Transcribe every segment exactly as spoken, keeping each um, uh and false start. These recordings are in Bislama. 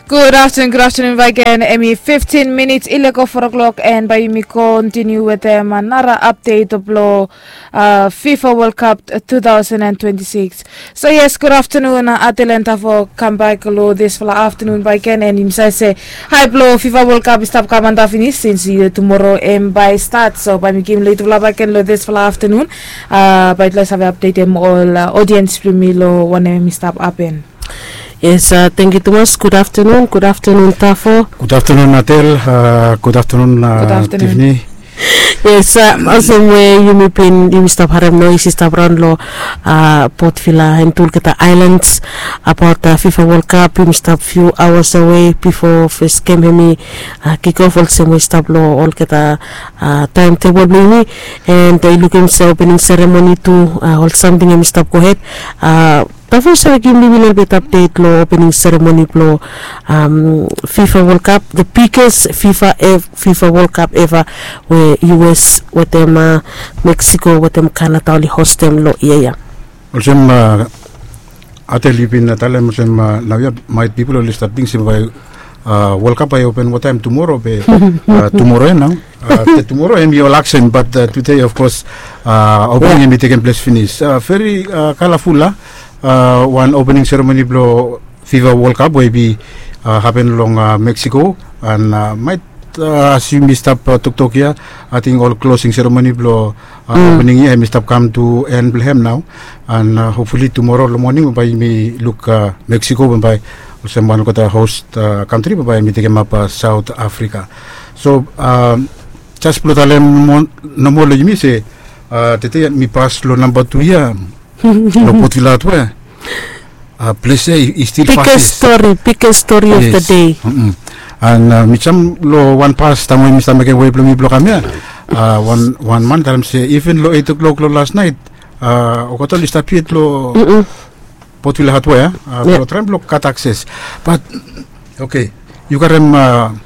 Gud aftenun, gud aftenun baik gen. Hemi fiftin minits i lego four o'clock, and bae yumi kontiniu wetem nara apdet blong uh, fifa World Cup two thousand and twenty-six. So yes, gud aftenun, uh, Atel and Tafo, kam baek long disfala aftenun baik gen, and yumi save se hae blong fifa World Cup i stap kam antap finis, since uh, tumoro hemi bae stat. So bae mi givim long yutufala baik gen long disfala aftenun, uh, bae yutufala save apdetem ol uh, odiens blong yumi long wanem hemi stap hapen. Yes, uh, tangkiu tumas. Gud aftenun, gud aftenun Tafo. Gud aftenun Atel, uh, gud aftenun, uh, Tivni. Yes, uh, olsem we yumi bin, yumi stap harem noes i stap raon long uh, Port Vila and tu olgeta aelans abaot uh, fifa World Cup. Yumi stap few hours away bifo fes gem hemi uh, kick off, olsem we i stap long olgeta uh, taem tebol blong yumi. And uh, i lukim se opening seremoni tu, uh, ol samting hemi stap gohed. Uh, Tafo, yu save givim mi lelebet apdet long opening seremoni blong um, fifa World Cup, the biggest fifa ev- fifa World Cup eva, we us wetem uh, Mexico wetem Canada oli hostem long yia ya? Olsem uh, Atel, yu bin uh, talem olsem uh, naoia maet pipol oli stap ting se bae uh, World Cup bae i open wataem tumoro, be uh, tumoro ya nao. Uh, afta tumoro hemi ol aksen, but uh, tude of course uh, opening hemi tekem ples finis. Uh, veri uh, kalaful a uh, wan opening seremoni blong fifa World Cup we i bin uh, hapen long uh, Mexico. And uh, maet uh, as yumi stap uh, toktok ya, ating ol klosing seremoni blong uh, opening ya hemi stap kam tu en blong hem nao. And uh, hopfuli tumoro long moning bae yumi luk uh, Mexico bae olsem wan olgeta host uh, kantri bae yumi tekemap uh, South Africa. So uh, jes blong talem nomo long yumi se uh, tede mi pas long namba tu ya long Port Vila Hardware. Uh, ples ya i stil fasis. Biggest story, biggest story of the day. And uh, mi jam long wan pas taem we mi stap mekem wei blong mi blong kam ya. Uh, wan, wan man talem se even long eight o'clock long las naet uh, olgeta oli stap yet long Port Vila Hardware uh, blong traem blong gat akses. But okay, yu karem uh,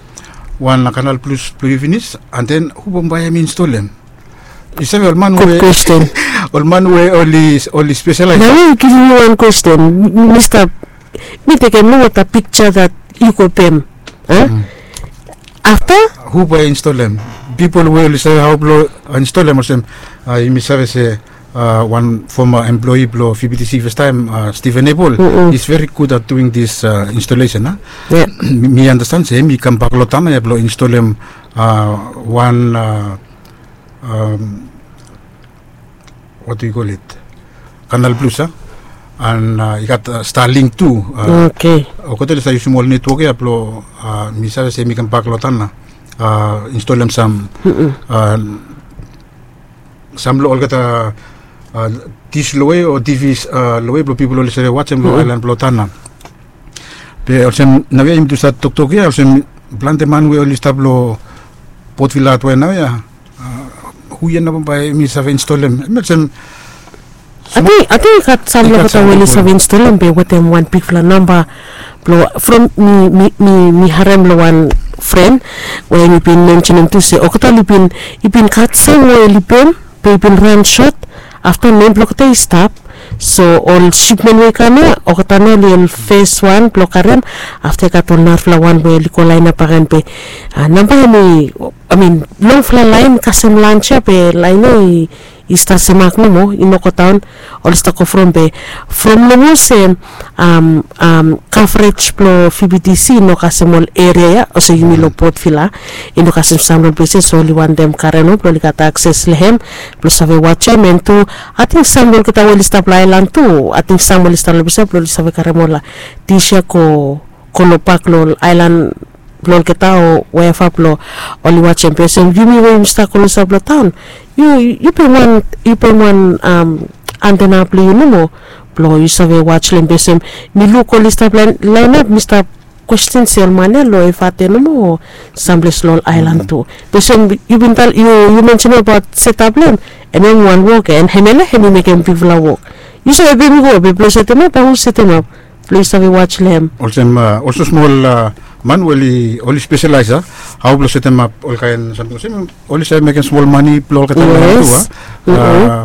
wan Canal Plus blong yu finis, and then hu bambae hemi install hem? Yu save ol man we, ol man we oli, oli specialize. Nao yu givim mi wan kwesten. Mi stap, mi tekem nomo the picture that yu go pem. Afta hu bae install hem? Pipol we oli save hao blong install hem olsem uh, yumi save se uh, wan former employee blong V B T C fastaem, uh, Stephen Abel, is very good at doing this uh, installation. Uh. Mi, mi understand se hemi kambak long taon ya blong install hem uh, wan uh, um, what do you call it? Canal Plus, uh, and uh, i gat uh, Starlink tu. Uh, okay. Olgeta oli stap yusum ol network ya blong uh, mi save se hemi kambak long taon ya uh, install hem sam uh, sam long olgeta uh, dish long we o T Vs uh, long we blong pipol oli save wajem long aelan blong taon ya. Be olsem naoia yumi tu stap toktok ya, olsem plante man we oli stap long Port Vila Hardware naoia, uh, hu ya nao bae hemi save install hem? Hemi olsem Ating, ating i gat sam long olgeta we oli save install hem, be wetem wan bigfala namba blong from mi, mi, mi, mi harem long wan fren we mi bin mensenem tu se olgeta oli bin, i bin gat sam we oli pem, be i bin ran sot. Afta nem blong olgeta i stap. So ol sipmen we i kam ya, olgeta nao oli ol fes wan blong karem. Afta i gat ol narafala wan we oli go laenap bak gen, be uh, namba hemi, I mean, longfala laen kasem lans ya, be laen ya i i stap semak nomo, i no godaon. Oli stap go from be from nomo se um, um, coverage blong V B T C i no kasem ol eria ya, olsem yumi long Port Vila, i no kasem sam long ol ples ya, so oli wantem kare nomo blong oli gat akses long hem blong save wajem. And tu ating sam long olgeta we oli stap long aelan tu, ating sam oli stap long ples ya blong oli save karem ol dish ya go, go long bak long ol aelan blong olgeta o wherever blong oli wajem. Be olsem yumi we yumi stap go long saed blong taon, yu, yu pem wan, yu pem wan um, antena blong yu nomo blong yu save waj long hem. Be olsem mi luk oli stap laen, laenap, mi stap kwesten se ol man ya long Efate nomo o samples long ol aelan tu. Be olsem yu bin talem, yu, yu mensenem abaot setap blong hem, hemia wan wok ya, and hemia nao hemi mekem bigfala wok. Yu save pem i go, be blong setemap, bae hu setemap blong yu save waj long hem? Olsem uh, olsem smol uh, man we oli, oli spesialaes, uh, hao blong setemap olkaen samting olsem, oli save mekem smol mane blong olgeta laen tu, uh.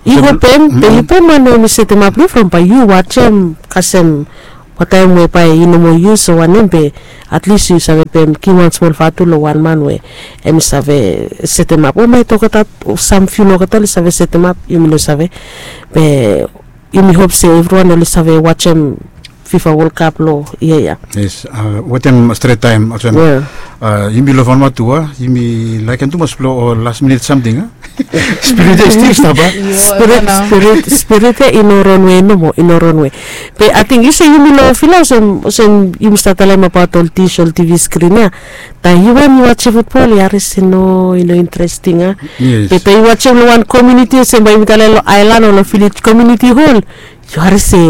Yu go pem, be yu pem man we hemi setemap long yu, from bae yu wajem kasem Wataem we bae i no moa yus o wanem be, at least yu save pem givim wan smol vatu long wan man we em i save setemap o mai toketa, sam fiu olgeta oli save setemap, yumi no save. Be yumi hop se evriwan oli save wajem fifa wol kap long yia ya. Yes. Wetem stret taem olsem yumi lov wan matu a, yumi laekem tumas blong ol las minit samting a. Spirit ya i stil stap a. Spirit ya i no ronwe nomo, i no ronwe. Be ating yu se yumi long fila olsem yumi save talem abaot ol dis ol tivi skrin ya. Taem yu wan yu wajem futbol yu harim se no, i no interesting a. Be taem yu wajem long wan komiuniti olsem bae yumi talem long aelan o long vilej komiuniti hol, yu harim se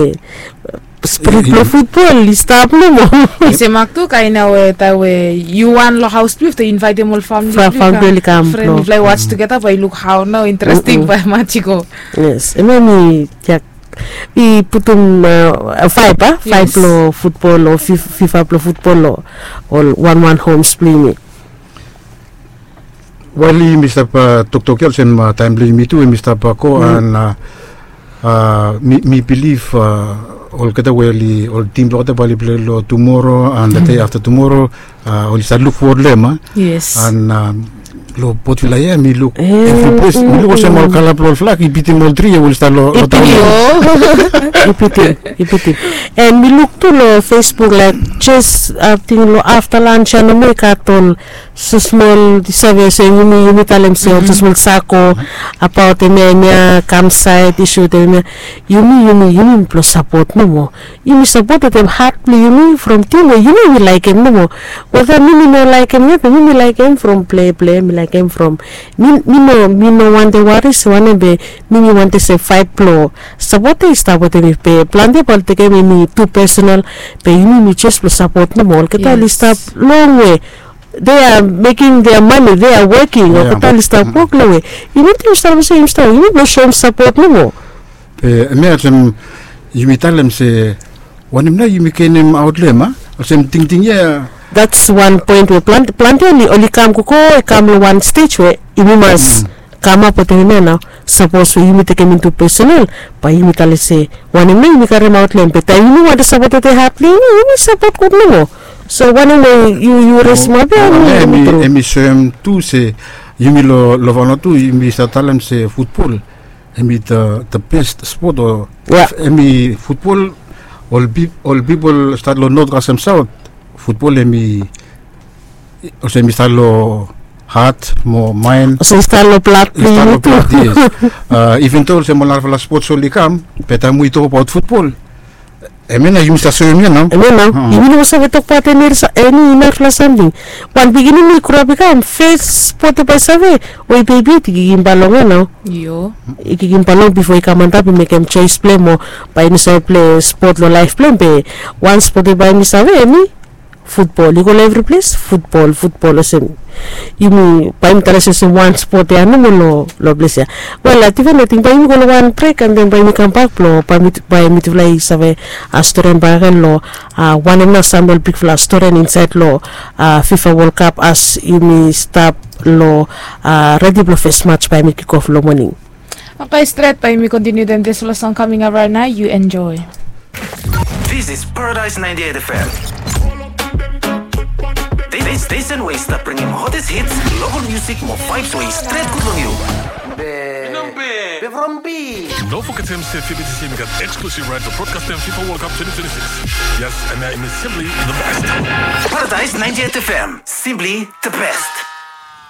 sprit blong futbol i stap nomo. I se mak tu kaen ya we taem we yu wan long haos blong yu yu invaetem ol famili blong yu kam, fren blong yu waj tugeta bae yu luk hao nao interesting bae maj i go. Yes, em ya mi jak i putum faef a, faef blong futbol o fifa blong futbol o ol wan wan homs blong yumi. Wael yumi stap toktok ya olsem taem blong yumi tu em i stap go an mi bilif olgeta we oli ol tim blong olgeta bae oli pilai long tumoro an de dei afta tumoro, oli save luk fowod long em a. An long potvila ya mi luk evri ples mi luk olsem ol kala blong ol flag i bitim ol tri ya we oli stap long. I bitim, i bitim. An mi luk tu long facebook laik jes ating long afta lans ya nomo i gat ol smol save olsem yumi talem se ol smol sako abaot hemia hemia kamsaet isu wetem hemia. Yumi yumi yumi blong sapot nomo. Yumi sapot wetem hat blong yumi from tim we yumi yumi laekem nomo. Weta mi mi no laekem ya be mi mi laekem from pleplei mi laekem from mi mi no mi no wantem wari se wanem be mi mi wantem se faef blong sapot ya i stap wetem mi be plante bae ol tekem hemi tu pesenal. Be yumi mi jes blong sapot nomo olgeta oli stap longwe. They are making their money, they are working. Olgeta oli stap wok long we yumi ting save se yumi stap yumi blong soem sapot nomo. Be em ya olsem yumi talem se wanem nao yumi genim aot long em a? Olsem tingting ya. That's wan poen we plante oli oli kam gogo i kam long wan stej we yumi mas kamap wetem em ya nao. Sapos we yumi tekem intu pesenal bae yumi talem se wanem nao yumi karemaot long em be taem yumi wantem sapot wetem hat blong yumi yumi sapot gud nomo. So wanem we yu yu resim ape em i soem tu se yumi long long vanuatu yumi save talem se futbol em i the best spot o em i futbol. Ol pipol stat long not kasem saot futbol em i olsem i stap long hat mo maen. Olsem i stap long blad blong yumi tu. Even do olsem ol narafala spots oli kam be taem we i tokbaot futbol em ya nao yumi stap soem ya nao. Em ya nao yumi no save tokbaot eni narafala samting. Wan pikinini i groap i kam fes spot ya bae i save we i bebi yet i kikim bal long ya nao. I kikim bal long bifo i kam antap i mekem joes blong em o bae i no save pilai spot long laef blong em be wan spot ya bae mi save eni futbol i go long evri ples futbol futbol olsem yumi bae yumi talem se olsem wan spot ya nomo long ples ya. Wel ating fen ating bae yumi go long wan brek an den bae yumi kambak blong bae mitufala i save storian bakegen long wanem nao sam ol bigfala storian insaed long fifa wol kap as yumi stap long redi blong fes mats bae yumi kikof long moning. Oke stret bae yumi kontiniu den dispela song kaming ap rait nao yu enjoe. This is Paradise ninety-eight F M. This station wey stap bringim hottest hits, local music mo vibes wey stret good long yu. Be from B. No forget him say F B T C got exclusive right to broadcast them FIFA World Cup twenty twenty-six. Yes, and I am simply the best. Paradise ninety-eight F M, simply the best.